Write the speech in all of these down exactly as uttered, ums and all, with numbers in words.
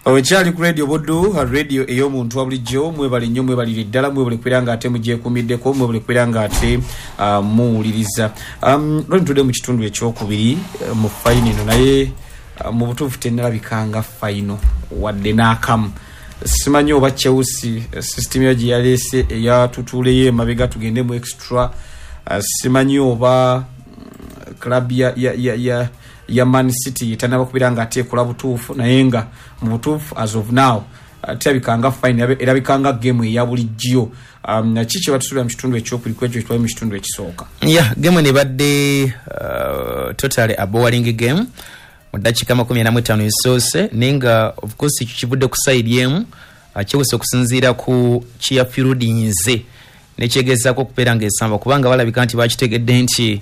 Okyali ku Radio Buddu, radio ey'omuntu wa bulijjo. Mwebale nnyo, mwebalire ddala, mwebale kubeera nga ate mugyekuumiddeko, mwebale kubeera nga ate uh, muwuliriza. um, lwe ntudde mu kitundu ekyokubiri uh, mu final eno, naye uh, mu butuufu tennalabikanga final wadde n'akamu. Simanyi oba Chelsea system yo gye yaleese eyatutuuleyo emabega tugende mu extra, uh, simanyi oba club ya, ya, ya, ya ya Man City etanaba kubeera nga ate ekola butuufu, naye nga mu butuufu as of now uh, terabikanga final, erabikanga game eya bulijjo. um, ki kye batusuubira mu kitundu ekyokubiri ku ekyo kitwali mu kitundu ekisooka? Yeah, game nebadde uh, totally a boring game mu ddakiika makumi ana mu ttaano esoose, naye nga of course ekyo kivudde ku side emu. Chelsea okusinziira ku kyeyafirudinze nekyegezaako okubeera ng'esamba, kubanga balabika nti bakitegedde nti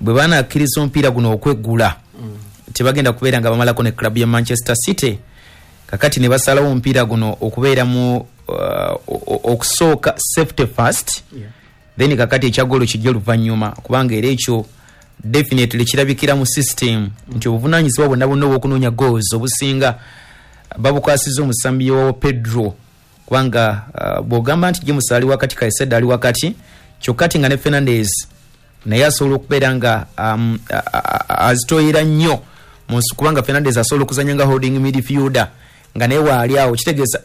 bwe banakkiriza omupiira guno okweggula mm. tebagenda kubeera nga bamalako ne club ya Manchester City. Kakati ne basalawo omupiira guno okubeera mu uh, okusooka safety first, yeah. Then kakati ekya goolo kijja oluvannyuma, kubanga era ekyo definitely kirabikira mu system mm. nti obuvunaanyizibwa bwonna bwonna obw'okunoonya goals obusinga babukwasizza omusambi wa Pedro, kubanga uh, bw'ogamba nti James ali wakati, Caicedo ali wakati, kyokka ati nga ne Fernandes naye asobola okubeera nga um, azitoyera nnyo munsi, kubanga Fernandes asobola okuzanya nga holding midfielder nga naye waali awo. Kitegeeza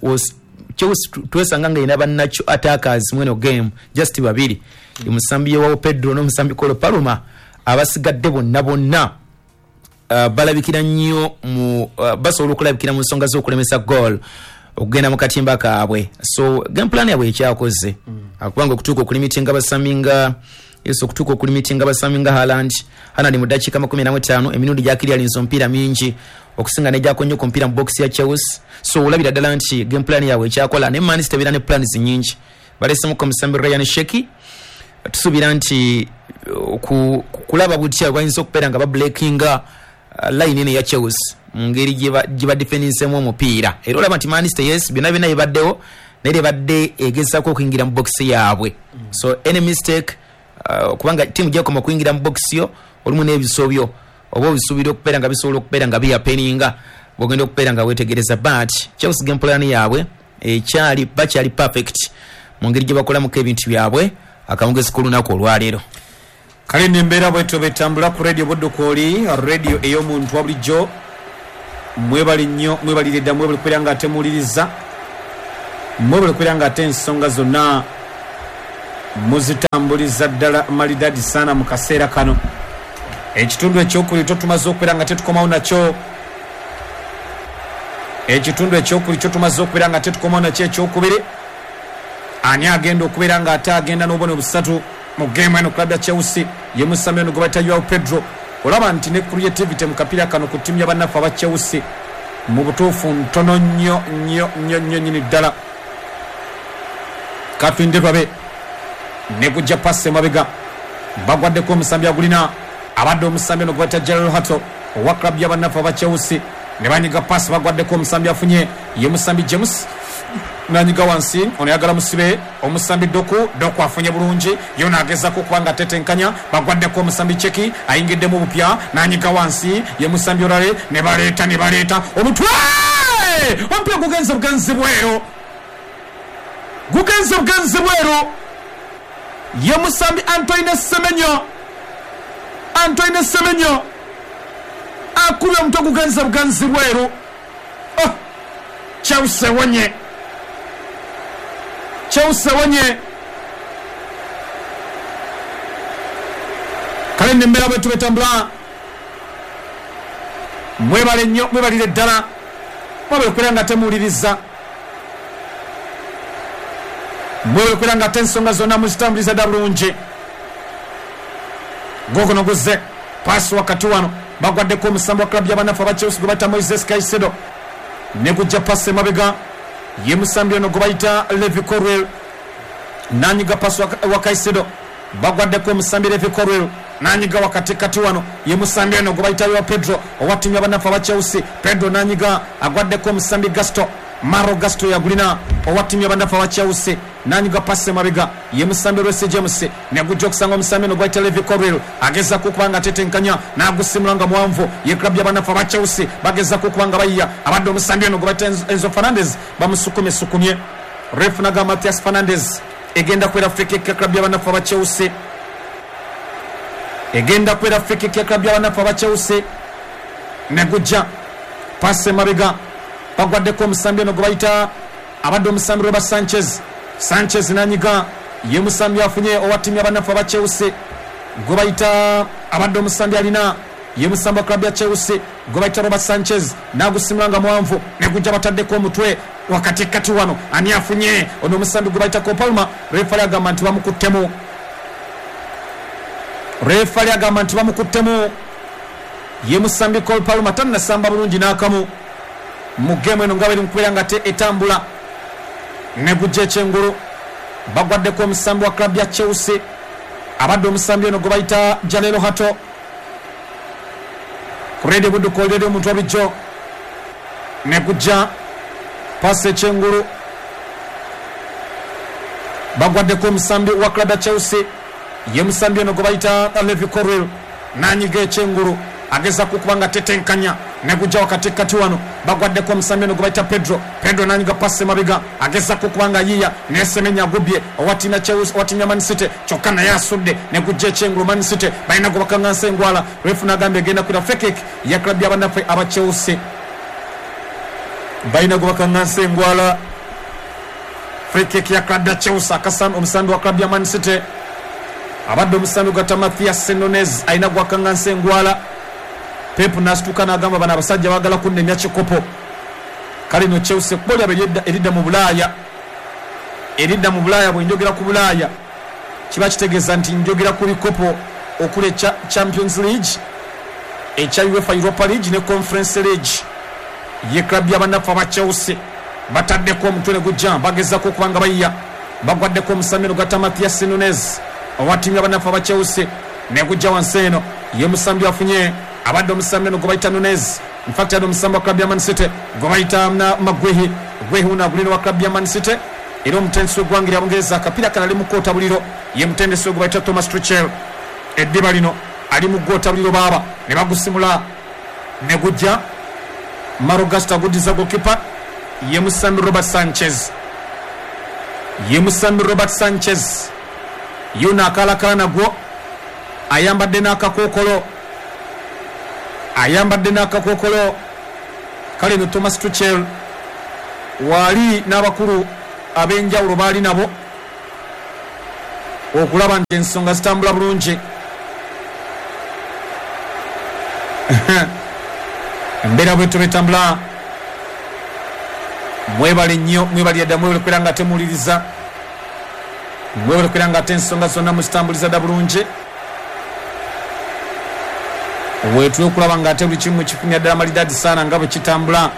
Chelsea twesanga nga erina bannakyo attackers mweno game just babiri, omusambi wa Pedro n'omusambi Cole Palmer. Abasigadde bonna bonna uh, balabikira nnyo mu uh, basobola okulabikira mu nsonga z'okulemesa goal okugenda mu katimba kaabwe. So game plan yabwe ekyakoze mm. kubanga okutuuka okulimitinga abasambi nga yes, okutuuka okulimitinga abasambi nga Haaland. Haaland mu ddakiika makumi ana mu ttaano emirundi gyakiryalinza omupiira mingi okusinga nejako nnyo ku mupiira mu box ya Chelsea. So olabira ddala nti game plan yaabwe ekyakola. Ne Man City ebeera ne plans nyingi, balesemuko omusambi Ryan Cherki, tusuubira nti ku, kulaba butya bayinza okubeera nga babreakinga uh, line eno eya Chelsea mu ngeri gye badefendinseemu omupiira. Era olaba nti Man City, yes, byonna byonna bibaddewo, naye ebadde egezaako okuyingira mu box yaabwe mm. So any mistake, uh, kubanga tiimu gyekoma okuyingira mu box yo olumu n'ebisobyo oba obisuubira okubeera nga bisobola okubeera nga biyapeninga bwogenda okubeera nga weetegereza. But Chelsea game plan yaabwe ekyali bakyali perfect mu ngeri gye bakolamuko ebintu byabwe akamugezi k'olunaku olwaleero. Kale nembeera bwetyo betambula ku Radio Buddu kwoli, radio ey'omuntu wa bulijjo. Mwebale nnyo, mwebalire dda, mwebale kubeera nga ate muwuliriza, mwebale kubeera nga ate ensonga zonna muzitambuliza ddala malidadi sana mu kaseera kano. Ekitundu ekyokubiri kyo tumaze okubeera nga tetukomawo nakyo, ekitundu ekyokubiri kyo tumaze okubeera nga tetukomawo nakyo ekyokubiri. Ani agenda okubeera nga ate agenda n'obubonero busatu mu game eno? Club ya Chelsea ye musambi ono gwe bayita Joao Pedro. Olaba nti ne creativity mu kapiira kano ku ttiimu y'abannaffe aba Chelsea mu butuufu ntono nnyo nnyo nnyo nnyo nnyini ddala. Katulinde tulabe ne gujja pasi emabega, bagwaddeko omusambi agulina abadde omusambi ono gwe bayita Jorrel Hato owa club y'abannaffe aba Chelsea, ne banyiga pasi, bagwaddeko omusambi afunye ye musambi James, nanyiga wansi, ono yagala musibe omusambi Doku. Doku afunye bulungi, yo nagezaako okuba nga atetenkanya, bagwaddeko omusambi Cheki ayingiddemu bupya, nanyiga wansi ye musambi Olale, ne baleeta ne baleeta omutwe, omupiira gugenze bugenzi bweru, gugenze bugenzi bweru. Ye musambi Antoine Semenyo, Antoine Semenyo akubye omutwe gugenze bugenzi bweru. Oh, Chelsea wonye, Chelsea wonye. Kale nembeera bwe tubetambula. Mwebale nnyo, mwebalire ddala, mwebale kubeera nga temuwuliriza, mwebale kubeera nga ate ensonga zonna muzitambuliza dda bulungi. Gogono guzze paasi wakati wano, bagwaddeko omusambi wa club y'abannaffe aba Chelsea gwe bayita Moises Caicedo, ne gujja pasi emabega ye musambi ono gwe bayita Levi Colwill, nanyiga pasi wa Caicedo, bagwaddeko omusambi Levi Colwill, nanyiga wakati kati wano ye musambi ono gwe bayita Joao Pedro owa ttiimu y'abannaffe aba Chelsea. Pedro nanyiga, agwaddeko omusambi Gasto, Maro Gasto yagulina owa ttiimu y'abanafu aba Chelsea nanyiga pasi emabega ye musambi Reece James negujja okusanga omusambi ono gwayita Levi Colwill agezaako okuba nga atetenkanya n'agusimula nga muwanvu. Ye club y'abanafu aba Chelsea bagezaako okuba nga bayiya abadde omusambi ono gwe bayita Enzo Fernandez bamusukumye-sukumye. Ref naga Mathias Fernandez egenda kwera free kick ya club y'abanafu aba Chelsea, egenda kwera free kick ya club y'abanafu aba Chelsea. Negujja pasi emabega bagwaddeko omusambi ono gwe bayita abadde omusambi Robert Sanchez. Sanchez nanyiga ye musambi afunye owa ttiimu y'abanafu aba Chelsea gwe bayita abadde omusambi alina ye musambi wa club ya Chelsea gwe bayita Robert Sanchez n'agusimula nga muwanvu negujja bataddeko omutwe wakatikati wano ani afunye ono omusambi gwe bayita Cole Palmer. Refali agamba nti bamukuttemu, refali agamba nti bamukuttemu. Ye musambi Cole Palmer tannasamba bulungi n'akamu mu geemu eno nga bweri mukubeera nga te etambula. Negujja ekyengulu bagwaddeko omusambi wa club ya Chelsea abadde omusambi ono gwe bayita Jalelo Hato. Ku Radio Buddu eri omuntu wa bulijjo negujja pasi ekyengulu bagwaddeko omusambi wa club ya Chelsea ye musambi ono gwe bayita Levi Colwill nanyiga ekyengulu agezaako okuba nga tetenkanya negujja wakatikati wano bagwaddeko omusambi ono gwe bayita Pedro. Pedro nanyiga pasi emabega agezaako okuba nga yiya nesemenya agubye owa ttiimu ya Chelsea owa ttiimu ya Man City kyokka naye asudde negujja ekyengulu. Man City balina gwe bakaŋŋansa engwala. Refu n'agamba egenda kwira free kick ya club y'abannaffe aba Chelsea, balina gwe bakaŋŋansa engwala. Free kick ya club ya Chelsea akasambi omusambi wa club ya Man City abadde omusambi gwata Mathias Nunez alina gwe bakaŋŋansa engwala. Pep n'asituka n'agamba bano abasajja baagala kunnemya kikopo. Kale no Chelsea ekkubo lyabwe eridda mu Bulaaya, eridda mu Bulaaya. Bwe njogera ku Bulaaya kiba kitegeeza nti njogera ku bikopo okuli ekya Champions League, ekya UEFA Europa League ne Conference League. Ye club y'abanafu aba Chelsea bataddeko omutwe ne gujja bagezaako okuba nga bayiya bagwaddeko omusambi ono gwata Mathias Nunez owa ttiimu y'abanafu aba Chelsea negujja wansi eno ye musambi afunye abadde omusambi ono gwe bayita Nunez. In fact adde omusambi wa club ya Man City gwe bayita Maguehi. Guehi uno agulina wa club ya Man City era omutendesi w'eggwanga erya Bungereza akapiira kano ali mu kwota buliro ye mutendesi we gwe bayita Thomas Tuchel. Eddiba lino ali mu gwota buliro baaba ne bagusimula ne gujja Maro Gasto aguddiza goalkeeper ye musambi Robert Sanchez, ye musambi Robert Sanchez yuno akalakala nagwo ayambadde n'akakookolo, ayambadde n'akakookolo. Kale no Thomas Tuchel waali n'abakulu ab'enjawulo baali nabo okulaba nti ensonga zitambula bulungi. Embeera bwetyo betambula. Mwebale nnyo, mwebale dda, mwebale kubeera nga temuwuliriza, mwebale kubeera nga ate ensonga zonna muzitambuliza dda bulungi. Weetule okulaba nga ate buli kimu kifunira ddala malidaadi saana nga bwe kitambula.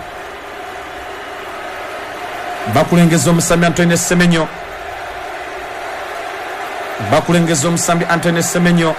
Bakulengeza omusambi Antoine Semenyo, bakulengeza omusambi Antoine Semenyo.